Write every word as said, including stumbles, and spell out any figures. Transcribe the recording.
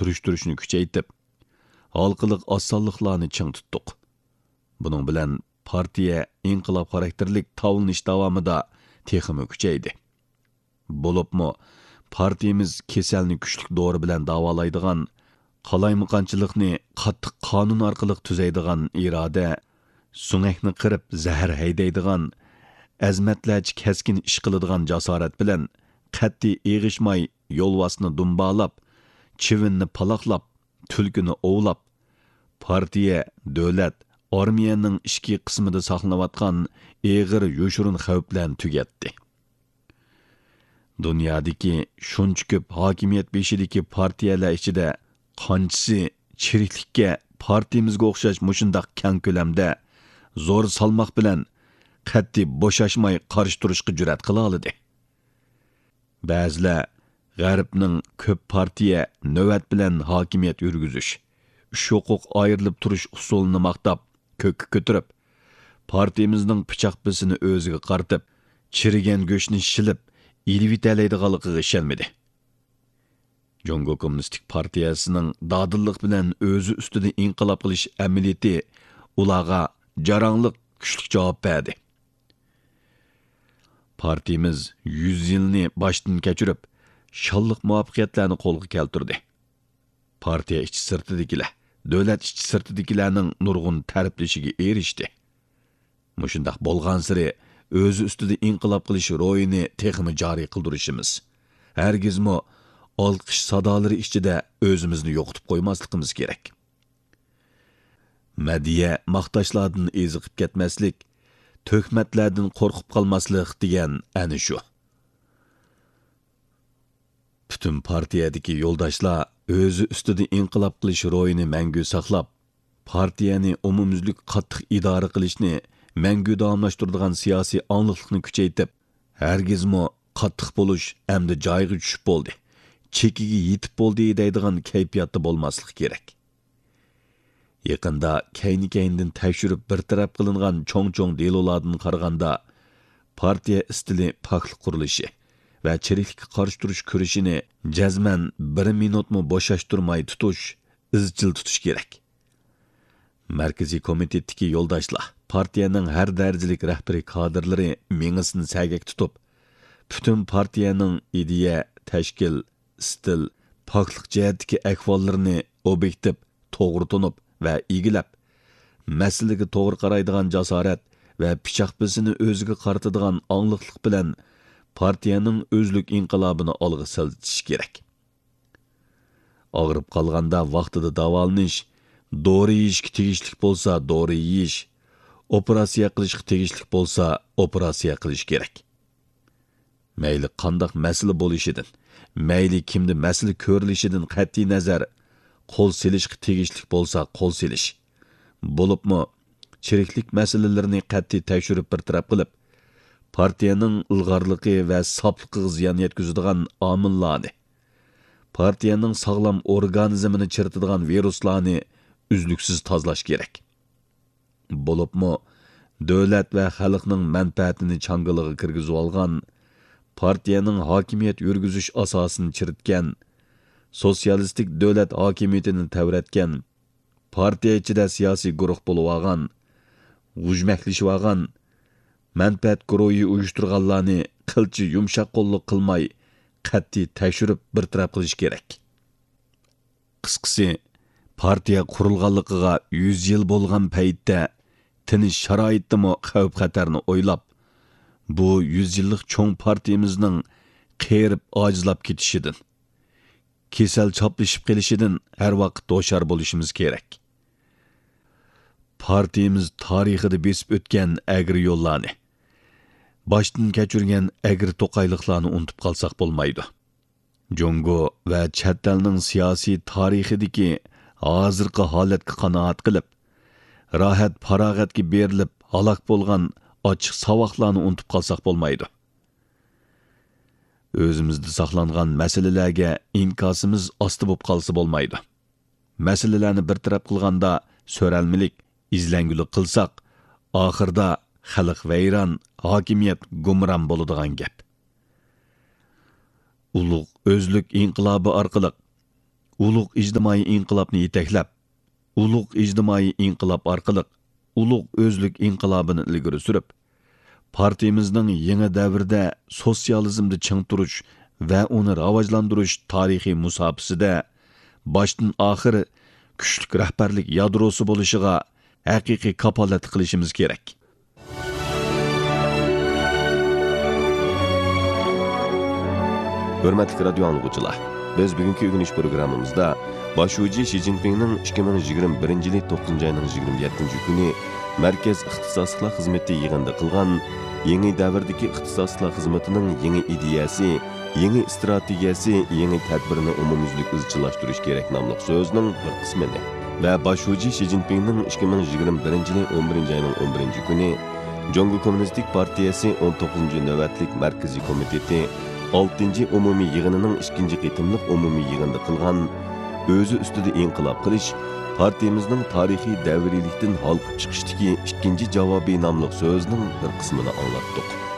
سۈرۈشتۈرۈشنى كۈچەيتىپ، ھالقىلىق ئاز سانلىقلارنى چىڭ تۇتتۇق. بۇنىڭ بىلەن پارتىيە ئىنقىلاب خاراكتېرلىك تاۋلىنىش داۋامىدا تېخىمۇ كۈچەيدى. بولۇپمۇ پارتىيىمىز كېسەلنى كۈچلۈك دورا بىلەن داۋالايدىغان، قالايمىقانچىلىقنى قاتتىق قانۇن ئارقىلىق تۈزەيدىغان ئىرادە، سۆڭەكنى قىرىپ زەھەر ھەيدەيدىغان، ئەزىمەتلەرچە كەسكىن ئىش قىلىدىغان جاسارەت بىلەن قەتئىي ئېغىشماي يولۋاسنى دۇمبالاپ، چىۋىننى پالاقلاپ، تۈلكىنى ئوۋلاپ، پارتىيە، دۆلەت، ئارمىيەنىڭ ئىچكى قىسمىدا ساقلىنىۋاتقان ئېغىر يوشۇرۇن خەۋپلەرنى تۈگەتتى. دۇنيادىكى شۇنچە كۆپ ھاكىمىيەت بېشىدىكى پارتىيەلەر ئىچىدە قانچىسى چىرىكلىككە پارتىيىمىزگە ئوخشاش مۇشۇنداق كەڭ كۆلەمدە زور سالماق بىلەن قەتئىي بوشاشماي قارشى تۇرۇشقا جۈرئەت قىلالىدى؟ بەزىلەر غەربنىڭ كۆپ پارتىيە نۆۋەت بىلەن ھاكىمىيەت يۈرگۈزۈش، ئۈچ ھوقۇق ئايرىلىپ تۇرۇش ئۇسۇلىنى ماختاپ، كۆككە كۆتۈرۈپ، پارتىيىمىزنىڭ پىچاق بېسىنى ئۆزىگە قارىتىپ، چىرىگەن گۆشنى شىلىپ ئېلىۋېتەلەيدىغانلىقىغا ئىشەنمىدى. جۇڭگو كوممۇنىستىك پارتىيەسىنىڭ دادىللىق بىلەن ئۆزى ئۈستىدە ئىنقىلاب قىلىش ئەمەلىيىتى ئۇلارغا جاراڭلىق، كۈچلۈك جاۋاب بەردى. پارتىيىمىز يۈز يىلنى باشتىن كەچۈرۈپ، شانلىق مۇۋەپپەقىيەتلەرنى قولغا كەلتۈردى. پارتىيە ئىچى سىرتىدىكىلەر، دۆلەت ئىچى سىرتىدىكىلەرنىڭ نۇرغۇن تەرىپلىشىگە ئېرىشتى. مۇشۇنداق بولغانسېرى، ئۆزى ئۈستىدە ئىنقىلاب قىلىش روھىنى تېخىمۇ جارى قىلدۇرۇشىمىز، ھەرگىزمۇ ئالقىش سادالىرى ئىچىدە ئۆزىمىزنى يوقىتىپ قويماسلىقىمىز كېرەك. مەدھىيە، ماختاشلاردىن ئېزىقىپ كەتمەسلىك، تۆھمەتلەردىن قورقۇپ قالماسلىق دېگەن ئەنە شۇ. پۈتۈن پارتىيەدىكى يولداشلار ئۆزى ئۈستىدە ئىنقىلاب قىلىش روھىنى مەڭگۈ ساقلاپ، پارتىيەنى ئومۇميۈزلۈك قاتتىق ئىدارە قىلىشنى مەڭگۈ داۋاملاشتۇرىدىغان سىياسىي ئاڭلىقلىقنى كۈچەيتىپ، ھەرگىزمۇ قاتتىق بولۇش ئەمدى جايىغا چۈشۈپ بولدى، چېكىگە يېتىپ بولدى دەيدىغان كەيپىياتتا بولماسلىق كېرەك. يېقىندا كەينى-كەينىدىن تەكشۈرۈپ بىر تەرەپ قىلىنغان چوڭ-چوڭ دېلولاردىن قارىغاندا، پارتىيە ئىستىلى پاكلىق قۇرۇلۇشى ۋە چىرىكلىككە قارشى تۇرۇش كۈرىشىنى جەزمەن بىر مىنۇتمۇ بوشاشتۇرماي تۇتۇش، ئىزچىل تۇتۇش كېرەك. مەركىزىي كومىتېتتىكى يولداشلار، پارتىيەنىڭ ھەر دەرىجىلىك رەھبىرىي كادىرلىرى مېڭىسىنى سەگەك تۇتۇپ، پۈتۈن پارتىيەنىڭ ئىدىيە، تەشكىل، ئىستىل، پاكلىق جەھەتتىكى ئەھۋاللىرىنى ئوبيېكتىپ، توغرا تونۇپ ۋە ئىگىلەپ، مەسىلىگە توغرا قارايدىغان جاسارەت ۋە پىچاق بېسىنى ئۆزىگە قارىتىدىغان ئاڭلىقلىق بىلەن پارتىيەنىڭ ئۆزلۈك ئىنقىلابىنى ئالغا سىلجىتىشى كېرەك. ئاغرىپ قالغاندا ۋاقتىدا داۋالىنىش، دورا يېيىشكە تېگىشلىك بولسا دورا يېيىش، ئوپېراتسىيە قىلىشقا تېگىشلىك بولسا ئوپېراتسىيە قىلىش كېرەك. مەيلى قانداق مەسىلە بولۇشىدىن، مەيلى كىمدە مەسىلە كۆرۈلۈشىدىن قەتئىينەزەر، قول سېلىشقا تېگىشلىك بولسا قول سېلىش، بولۇپمۇ چىرىكلىك مەسىلىلىرىنى قەتئىي تەكشۈرۈپ بىر تەرەپ قىلىپ، پارتىيەنىڭ ئىلغارلىقى ۋە ساپلىقىغا زىيان يەتكۈزىدىغان ئامىللارنى، پارتىيەنىڭ ساغلام ئورگانىزمىنى چىرىتىدىغان ۋىرۇسلارنى ئۈزلۈكسىز تازىلاش كېرەك. بولۇپمۇ دۆلەت ۋە خەلقنىڭ مەنپەئەتىنى چاڭگىلىغا كىرگۈزۈۋالغان، پارتىيەنىڭ ھاكىمىيەت يۈرگۈزۈش ئاساسىنى چىرىتكەن، سوتسىيالىستىك دۆلەت ھاكىمىيىتىنى تەۋرەتكەن، پارتىيە ئىچىدە سىياسىي گۇرۇھ بولۇۋالغان، غۇژمەكلىشىۋالغان، مەنپەئەت گۇرۇھى ئۇيۇشتۇرغانلارنى قىلچە يۇمشاق قوللۇق قىلماي، قەتئىي تەكشۈرۈپ بىر تەرەپ قىلىش كېرەك. قىسقىسى، پارتىيە قۇرۇلغانلىقىغا يۈز يىل بولغان پەيتتە، تىنچ شارائىتتىمۇ خەۋپ-خەتەرنى ئويلاپ، بۇ يۈز يىللىق چوڭ پارتىيىمىزنىڭ قېرىپ ئاجىزلاپ كېتىشىدىن، كېسەل چاپلىشىپ قېلىشىدىن ھەر ۋاقىت ھوشيار بولۇشىمىز كېرەك. پارتىيىمىز تارىخىدا بېسىپ ئۆتكەن ئەگرى يوللارنى، باشتىن كەچۈرگەن ئەگرى توقايلىقلارنى ئۇنتۇپ قالساق بولمايدۇ. جۇڭگو ۋە چەت ئەلنىڭ سىياسىي تارىخىدىكى ھازىرقى ھالەتكە قانائەت قىلىپ، راھەت-پاراغەتكە بېرىلىپ ھالاك بولغان ئاچچىق ساۋاقلارنى ئۇنتۇپ قالساق بولمايدۇ. ئۆزىمىزدە ساقلانغان مەسىلىلەرگە ئىنكاسىمىز ئاستا بولۇپ قالسا بولمايدۇ. مەسىلىلەرنى بىر تەرەپ قىلغاندا سۆرەلمىلىك، ئىزلەنگۈلۈك قىلساق، ئاخىرىدا خەلق ۋەيران، ھاكىمىيەت گۇمران بولىدىغان گەپ. ئۇلۇغ ئۆزلۈك ئىنقىلابى ئارقىلىق ئۇلۇغ ئىجتىمائىي ئىنقىلابنى يېتەكلەپ، ئۇلۇغ ئىجتىمائىي ئىنقىلاب ئارقىلىق ئۇلۇغ ئۆزلۈك ئىنقىلابىنى ئىلگىرى سۈرۈپ، پارتىيىمىزنىڭ يېڭى دەۋردە سوتسىيالىزمدا چىڭ تۇرۇش ۋە ئۇنى راۋاجلاندۇرۇش تارىخىي مۇساپىسىدە باشتىن ئاخىر كۈچلۈك رەھبەرلىك يادروسى بولۇشىغا ھەقىقىي كاپالەتلىك قىلىشىمىز كېرەك. ھۆرمەتلىك رادىيو ئاڭلىغۇچىلار، بىز بۈگۈنكى ئۆگىنىش پروگراممىمىزدا باش شۇجى شى جىنپىڭنىڭ ئىككى مىڭ يىگىرمە بىرىنچى يىلى توققۇزىنچى ئاينىڭ يىگىرمە يەتتىنچى كۈنى مەركەز ئىختىساسلىقلار خىزمىتى يىغىنىدا قىلغان يېڭى دەۋردىكى ئىختىساسلىقلار خىزمىتىنىڭ يېڭى ئىدىيەسى، يېڭى ئىستراتېگىيەسى، يېڭى تەدبىرىنى ئومۇميۈزلۈك ئىزچىللاشتۇرۇش كېرەك ناملىق سۆزىنىڭ بىر قىسمىنى ۋە باش شۇجى شى جىنپىڭنىڭ ئىككى مىڭ يىگىرمە بىرىنچى يىلى ئون بىرىنچى ئاينىڭ ئون بىرىنچى كۈنى جۇڭگو كوممۇنىستىك پارتىيەسى ئون توققۇزىنچى نۆۋەتلىك مەركىزىي كومىتېتى ئالتىنچى ئومۇمىي يىغىنىنىڭ ئىككىنچى قېتىملىق ئومۇمىي يىغىنىدا قىلغان ئۆزى ئۈستىدە ئىنقىلاب قىلىش، پارتىيىمىزنىڭ تارىخىي دەۋرىيلىكتىن ھالقىپ چىقىشتىكى ئىككىنچى جاۋابى ناملىق سۆزىنىڭ بىر قىسمىنى ئاڭلاتتۇق.